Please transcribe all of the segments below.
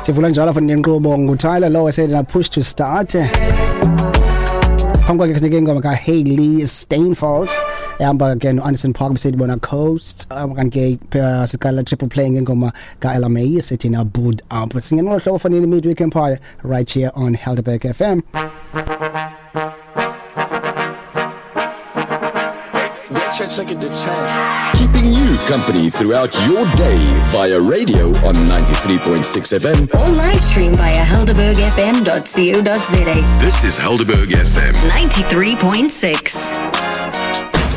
Sivula njalo futhi nenkqubo nguTyler lo esethi push to start. Phambi kwakhe sinike ingoma kaHailee Steinfeld ehamba ke no-Anderson Paak, besithi bona Coast. Kanti ke siqala triple play ngengoma ka-Ella Mai sithi na Boo'd Up. Singena ngolo hlobo fanele Midweek Empire right here on Helderberg FM. Check it to 10. Keeping you company throughout your day via radio on 93.6 FM or live stream via helderbergfm.co.za. This is Helderberg FM 93.6.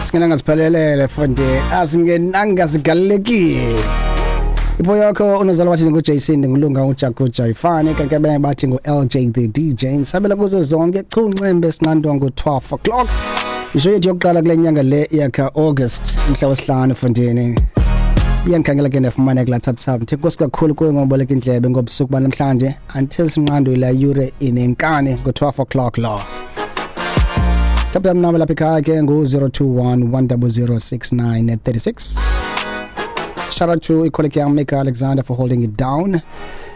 Singenanga siphelelele fundi, asingenanga sigalelekile. Ipo yakho unozala wathi nguJason, ngulunga uJakuja ifane, kanti abanye bathi ngu-LJ the DJ. Nisabela kuzo zonke chuncembe sinqandwa ngo-12 o'clock. Isho yethu yokuqala kule nyanga le yakha August mhla wesihlanu fundini. Iyangikhangela ke ndafumana kula tap tap. Ngithe nkosi kakhulu kuwe ngoboleka indlebe ngobusuku banamhlanje until sinqandwe la yure inenkani ngo-12 o'clock lo. Tap tap number lapha ekhaya ke ngu-021 100 6936. Shout out to colleague Mika Alexander for holding it down.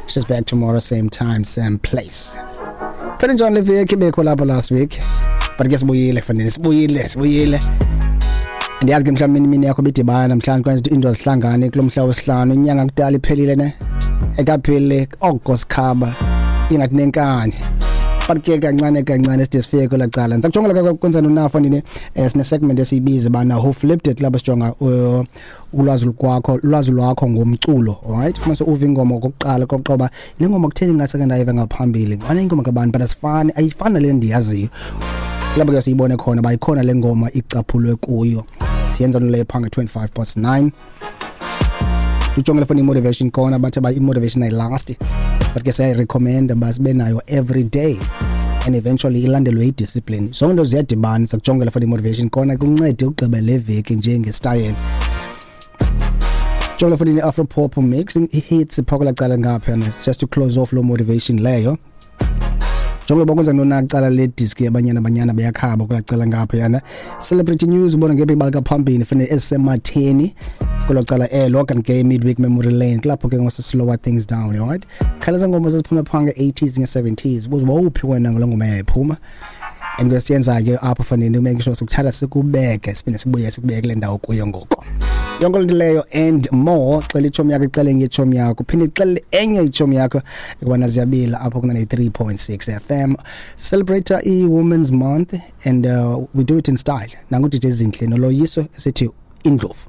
She's back tomorrow, same time, same place. Phela njani le veki bekho lapha last week? But ke sibuyile fanele, sibuyile, sibuyile. Andiyazi ke mhlawumbi imini yakho bidibana namhlanje kwenza into azihlangane kulo mhla wesihlanu, inyanga kudala iphelile ne. Ekaphile oko sikhaba ingathi nenkani. But ke kancane kancane side sifike kwela cala. Ndisakujongela kwenza nonafo nini, sine segment esiyibiza bana Who Flipped It, lapho sijonga ulwazi lwakho, ulwazi lwakho ngomculo, alright? Ufuna uve ingoma okokuqala kokuqoba le ngoma kutheni ngase ndayiva ngaphambili. Ngibona ingoma kabantu but asifani, ayifani le ndiyaziyo. Lapho ke siyibone khona bayikhona le ngoma icaphulwe kuyo. Siyenza leyo phanga 9:25. Ujongela for motivation khona bathi ba motivation ayilast. But ke siya recommend basibe nayo every day and eventually ilandelwe i-discipline. Zonke into ziyadibana, sakujongela for motivation khona kuncede ugqibe le veki njenge-style. Jongela for the Afro pop mix hits phakula cala ngapha just to close off lo motivation leyo. Njengoba bakwenza nonacala le disk yabanyana banyana beyakhaba kulacala ngapha yana. Celebrity news ubona ngebe ibalika phambili fanele esematheni kulocala elo, kanti ke midweek memory lane kulapho ke ngose slower things down, right? Khala ngoma zaziphuma phanga 80s nge 70s, buze wawuphi wena ngalo ngoma yayiphuma. And kusiyenza ke apho fanele make sure sokuthatha sikubeke siphinde sibuye sikubeke kule ndawo kuyo ngoko. Yonke into leyo and more, xela ichomi yakho, ixele ngechomi yakho, phinde ixele enye ichomi yakho ukubana ziyabila apho kuna 3.6 FM. Celebrate i-Women's Month and we do it in style. Nangu DJ Zinhle noloyiso esithi Indlovu.